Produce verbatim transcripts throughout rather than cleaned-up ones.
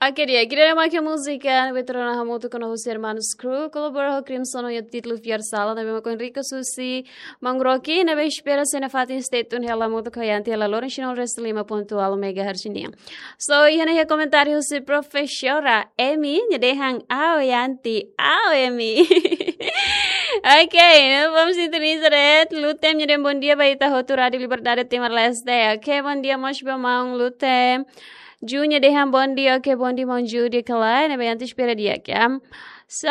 Oke, di'ak, ida-ne'e mak múzika ne'ebé tuur ona hamutuk ho husi Hermanos Crew, kolabora ho Crimson ho títulu Fiar Sala, ne'ebé mak Enrico Susi, Mangroki, ne'ebé espera se nafatin stay tune hela hamutuk ho Yanti hela loron sinol restu lima pontu ualu megahertz nian. So, iha ne'e iha komentáriu husi Profesora Emi, nia dehan, "Ao Yanti, ao Emi." Oke, ne'e bom sintoniza de'it, Lutem nia dehan bom dia ba ita hotu Rádio Liberdade Timor-Leste. Oke, bom dia mós ba maun Lutem. Ju nia dehan bom dia, oke, bom dia maun Ju, di'ak ka lae, ne'ebé Yanti espera di'ak, ya. So,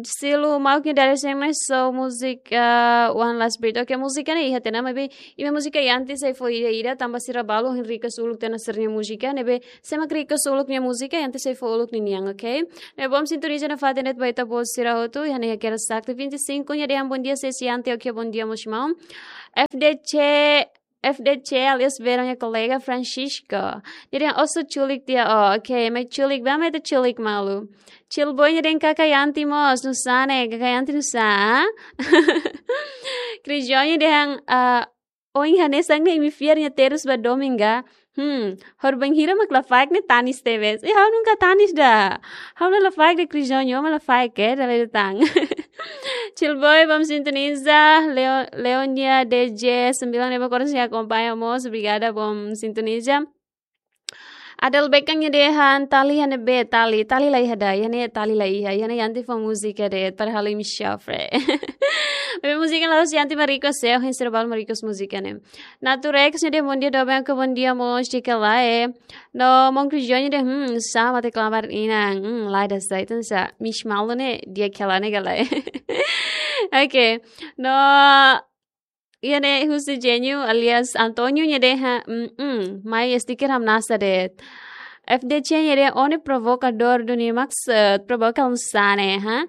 Silu Mauk nia dadeer-seen ne'e, so múzika, uh, One Last Breath. Oke, múzika ne'e iha tiha ona, maibé imi múzika Yanti sei fó ida-ida, tanba sira balu hein request uluk tiha ona sira-nia múzika, ne'ebé se mak request uluk nia múzika, Yanti sei fó uluk ninian, oke? Ne'e bom sintoniza nafatin de'it ba ita-boot sira hotu, iha ne'e hakerek Sakti vinte e cinco, nia dehan bom dia, Sesi Yanti, oke, bom dia mós maun. F D C, F D C alias Verão nia kolega Francisco. Nia dehan oso culik tiha, oh, oke, mai culik, ba mai ita culik malu. Chill Boy nia dehan kaka Yanti mós, nusá ne'e, kaka Yanti nusá, ah? Cris João nia dehan, ah, oin hanesan ne'e imi fiar nia terus ba dominga. Hmm, horibainhira mak lafaek ne'e tanis tebes. Eh, ha'u nunka tanis ida. Ha'u la lafaek ida, Cris João, ha'u la lafaek, eh, dala ida tan. Chill Boy, bom sintoniza. Leo-, Leonia D J sembilan ne'ebé koras akompaña mós, obrigada, bom sintoniza. Adel Bekang nia dehan tali iha ne'ebé, tali, tali la iha ida, iha ne'e tali la iha, iha ne'e Yanti fó múzika de'it, padahal imi sofre. Maibé múzika la'ós Yanti mak request, eh, hein sira balu mak request múzika ne'e. Naturex nia dehan bom dia doben, oke, bom dia mós, di'ak ka lae. No maun Cris João nia dehan, hmm, sama te klamar inan, hmm, lae, ida sai, entaun sá, Miss Malu ne'e di'ak ka lae, ne'e ka lae. Oke, no, iha ne'e husi Genio alias Antonio nia dehan, mm, mm, mai stiker hamnasa de'it. F D C nia dehan, ó ne'e provokadór duni maksud, provoka nusá ne'e, ha?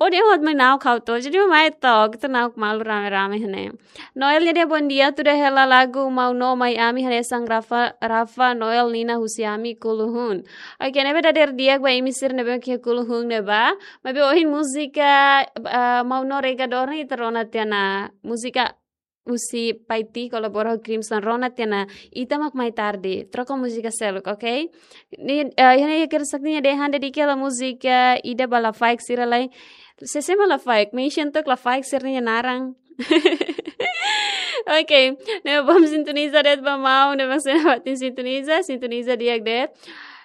Ó dehan hot mai na'ok ha'u to, jadi mai to, ita na'ok malu rame-rame iha ne'e. Noel nia dehan bom dia, tuda hela lagu Maun No Mai Ami hanesan Rafa, Rafa Noel nian husi ami Kuluhun. Oke, ne'ebé dadeer di'ak ba imi sira ne'ebé iha Kuluhun ne'ebá. Maibé ohin múzika, ah, Maun No Regador ne'e ita rona tiha ona, múzika husi Paiti kolabora ho Crimson, rona tiha ona Ita Mak Mai Tarde. Troka múzika seluk, oke? Ne'e, eh, iha ne'e hakerek Sakti nia dehan dedika hela múzika ida ba lafaek sira lai. Sé-sé mak lafaek, mention took lafaek sira-nia naran. Oke, ne'e bom sintoniza de'it ba maun, ne'ebé sei nafatin sintoniza, sintoniza di'ak de'it.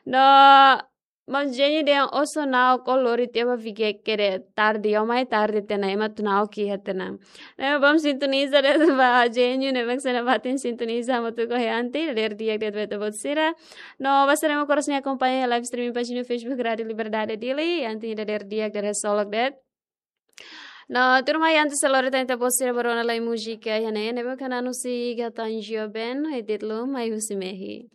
No, maun Genio dehan oso na'ok, ó lori tiha ba Vigeke de'it, tarde, ó mai tarde tiha ona, ema atu na'ok iha tiha ona. Ne'e bom sintoniza de'it ba Genio, ne'ebé sei nafatin sintoniza hamutuk ho Yanti, dadeer di'ak de'it ba ita-boot sira. No, ba sira ne'ebé koras akompaña live streaming pájina Facebook Rádio Liberdade Dili, Yanti dadeer di'ak, dadeer solok de'it. No, tuirmai antes de lori tan ita-boot sira ba rona lai múzika iha ne'e, ne'ebé mak Nanu Siga tan joven, ho títulu Mai Husi Mehi.